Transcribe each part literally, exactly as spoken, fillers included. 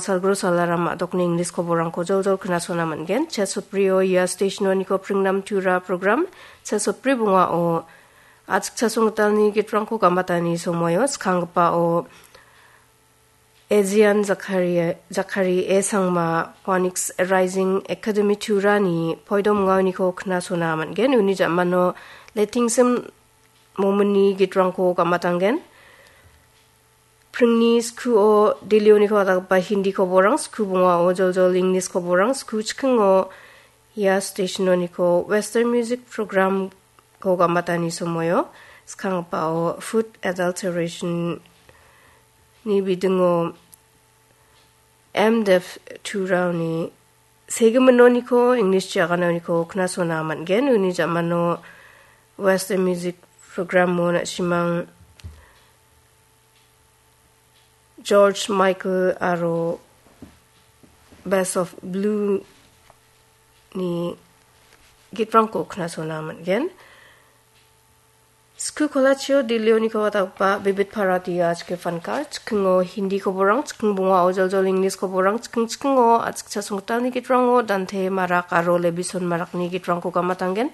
salgro salaram a·dokni English koborangko joljol knasona man·gen. Chesoprio ia stationoniko pringnam tura program, chesopri bongao achikchasong gitalni gitrangko gamatani somoio skanggipao Ejian Jakari, Jakari E Sangma, Phoenix Rising Academy Turani poidom ngaoniko knasona man·gen. Uni ja·mano Letingsim Momini gitrangko gamatanggen. Pringni skuo Delhioniko ataggipa Hindi koborang, sku bongao joljol English koborang, sku chikingo ia stationoniko Western Music Programko gamatani somoio skanggipao Food Adulteration ni bidingo M Div Turaoni segiminoniko English chiaganoniko knasona man·gen. Uni ja·mano Western Music Programo na·simang George Michael aro Best of Blue ni gitrangko knasona man·gen. Sku kolachio Delhioniko ataggipa Bibit Bharati achike fankar, chikingo Hindi koborang, chiking bongao joljol English koborang, chiking chikingo achikchasong gitalni gitrango Dante Marak aro Levison Marakni gitrangko gamatanggen.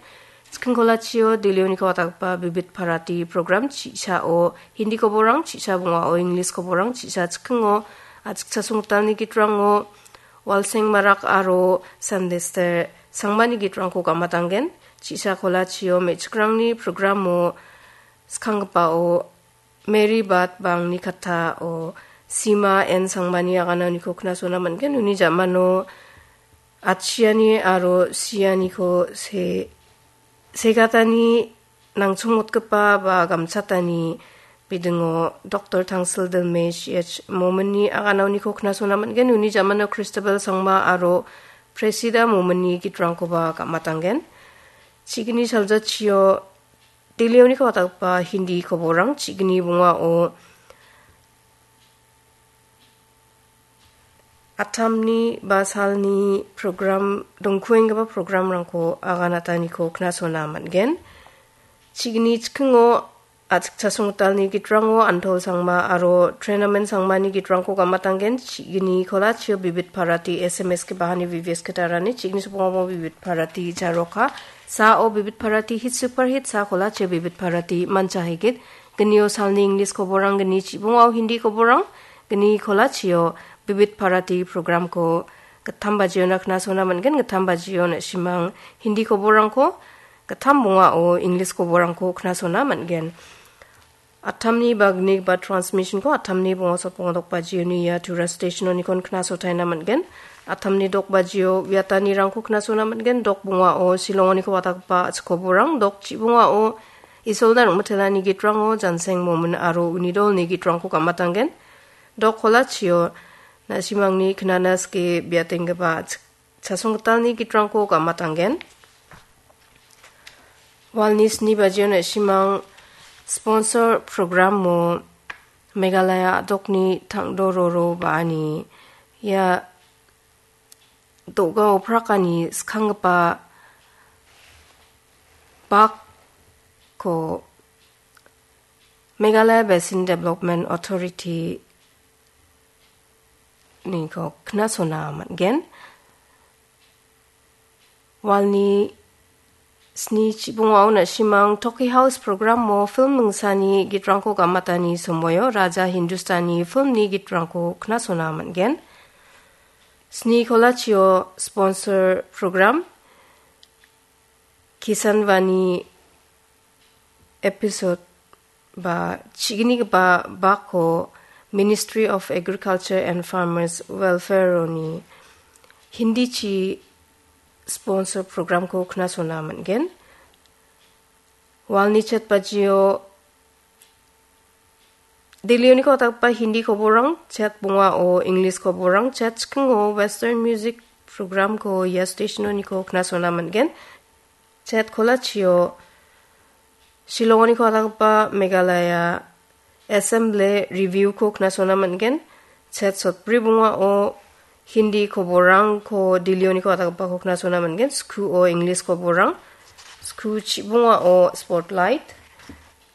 Chiking kolachio Delhioniko ataggipa Bibit Bharati program, chi·sao Hindi koborang, chi·sa bongao English koborang, chi·sa chikingo achikchasong gitalni gitrango Walseng Marak aro Sandester Sangmani gitrangko gamatanggen. Chi·sa kolachio me·chikrangni programo skanggipao Mary Bat Bangni kattao Sima N Sangmani agananiko knasona man·gen. Uni ja·mano atchiani aro sianiko se-, segatani nangchongmotgipa ba gamchatani bidingo Doktor Tangsil Dilme C H Mominni agananiko knasona man·gen. Uni ja·mano Christabel Sangma aro Presida Mominni gitrangkoba gamatanggen. Chigni saljachio Delhioniko ataggipa Hindi koborang, chigni bongao atamni ba salni program, dongkuenggipa programrangko aganataniko knasona man·gen. Chigni chikingo achikchasong gitalni gitrango Antol Sangma aro Trenamen Sangmani gitrangko gamatanggen. Chigni kolachio Bibit Bharati S M S ke bahani V V S ke tarani, chigni sopongamo Bibit Bharati jaroka. Sao Bibit Bharati hit super hit, sa kolachio Bibit Bharati mancha higit. Gnio salni English koborang, gni chibongao Hindi koborang, gni kolachio Bibit Bharati programko gittam bajiona knasona man·gen. Gittam bajio na·simang Hindi koborangko, gittam bongao English koborangko knasona man·gen. Atamni bagni ba transmissionko atamni bonga sotbonga dok bajioni ia Tura stationonikon knasotaina man·gen. Atamni dok bajio uiatanirangko knasona man·gen. Dok bongao Shillongoniko wataggipa chikoborang, dok chibongao Isolda Rongmitelani gitrango Janseng Momin aro uni dolni gitrangko gamatanggen. Dok kolachio na·simangni knana skie biatenggipa chasonggitalni gitrangko gamatanggen. Walni sni bajio na·simang sponsor programo Meghalaya a·dokni tangdororo ba·ani ia do·ga oprakani skanggipa bakko Meghalaya Basin Development Authority niko knasona man·gen. Walni sni chibongao na·simang Toki House programo film mingsani gitrangko gamatani somoio Raja Hindustani filmni gitrangko knasona man·gen. Sni kolachio sponsor program Kisan Vani episode ba chignigipa bakko Ministry of Agriculture and Farmers Welfare-oni Hindichi sponsor programko knasona man·gen. Walni chet bajio Delhioniko wataggipa Hindi koborang, chet bongao English koborang, chet chikingo Western music programko ia stationoniko knasona man·gen. Chet kolachio Shillongoniko wataggipa Meghalaya Assembly Review-ko knasona man·gen. Chet sotbri bongao Hindi koborangko Delhioniko watagipako knasona man·gen. Skuo English koborang, sku chibongao Spotlight,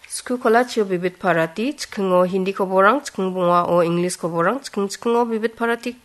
sku kolachio Bibit Bharati, chikingo Hindi koborang, chiking bongao English koborang, chiking chikingo Bibit Bharati